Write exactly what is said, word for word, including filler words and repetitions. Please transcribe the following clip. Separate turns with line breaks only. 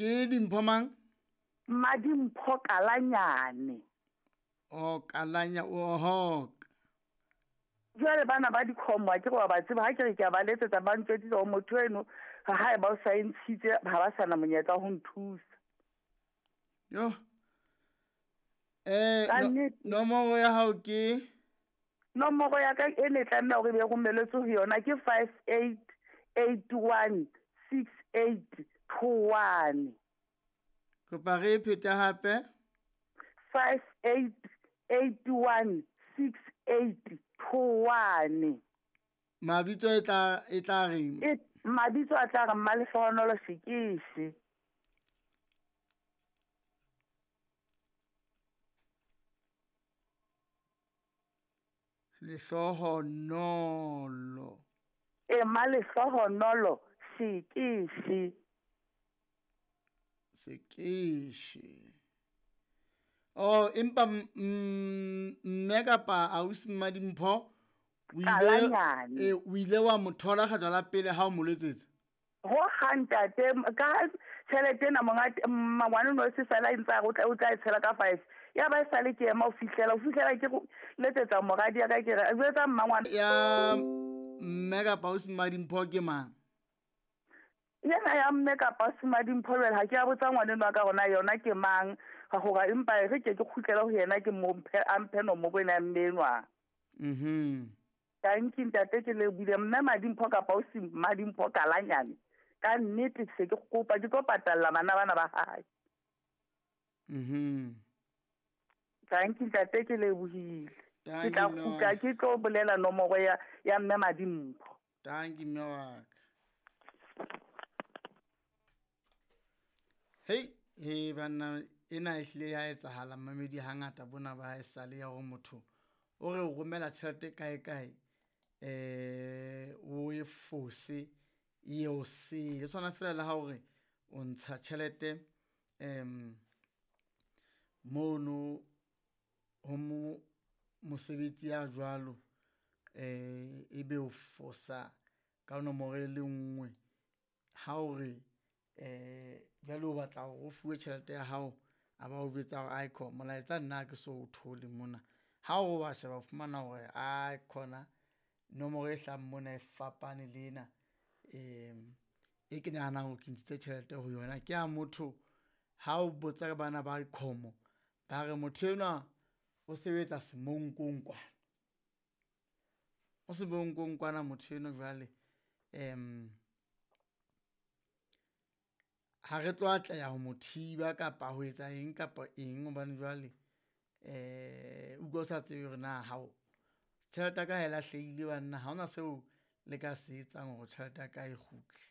Ke Dimpho mang?
Madimpho Kalanyane.
O Kalanya oho.
Jwale bana ba dikgomo ke go ba tseba ha ke re ke a ba letsetsa ba ntjwetsitse hore motho eno ha e ba o sa e ntshitse ha ba sana monyetla ho nthusa.
Yo. Eh
Ka
no,
nnete.
nomoro ya hao ke
Nomoro ya ka e ne tlameha hore e be romelletswe ho yona ke five eight eight one six eight two one.
Kopa re e phete hape.
Five eight eight one six eight two one.
Mabitso e tla e tla reng?
E mabitso a tla re Mmalehlohonolo Sekeshe.
Lehlohonolo.
E Mmalehlohonolo Sekeshe.
Sekeshe. Oh, empa mme kapa ausi Mmadimpho o ile
Kalanyane.
e, o ile wa mo thola kgetlo la pele ha o mo letsetsa?
Ho ha ntate, ka tjhelete ena monga mangwane no se fela ntse a re o tla o tla e tshela ka five. Ya ba e sale ke ema ho fihlela, ho fihlela ke go letsetsa moradi ya ka ke re jwetsa mmangwane.
Ya mme kapa ausi Mmadimpho ke mang?
Yena ya mme kapa ausi Mmadimpho jwale ha ke a botsa ngwaneno wa ka hore na yona ke mang, ka hore empa e re ke ke kgutlele ho yena ke mo mphe, a mphe nomoro ena ya mme enwa.
Mhm.
Thank you ntate, ke lebohile. Mme Madimpho kapa ausi Madimpho Kalanyane. Ka nnete se ke kopa ke tlo patalla bana bana ba hae.
Mhm.
Thank you ntate, ke lebohile.
Thank
Ke tla
you, mme
kgutla
wa
ke tlo bolela nomoro ya, ya mme Madimpho.
Thank you, mme wa ka. Hei, he banna ena e hlile ya etsahala mamedi hangata bona ba e sale ya hore motho o re o romela tjhelete kae kae, eh, o e fose e o sele. E tshwana fela le ha o re o ntsha tjhelete, em, mono ho mo mosebetsi ya jwalo, eh, ebe o fosa ka nomoro e le nngwe. Ha o re, eh, jwale o batla hore o fuwe tjhelete ya hao, a ba o jwetsa hore ai kho, molaetsa nna ha ke so o thole mona. Ha o wa sheba o fumana hore ai khona nomoro e hlahang mona e fapane le ena, em, e ke nahanang hore ke ntshitse tjhelete ho yona. Ke ya motho ha o botsa ka bana ba dikgomo, ba re motho enwa o sebetsa semonkong kwana. O semonkong kwana motho enwa jwale, em, ha re tlo atleha ho mo thiba kapa ho etsa eng kapa eng, hobane jwale, eh, o utlwa o sa tsebe hore na hao tjhelete ya ka ha e lahlehile banna, ha hona seo le ka se etsang hore tjhelete ya ka e kgutle.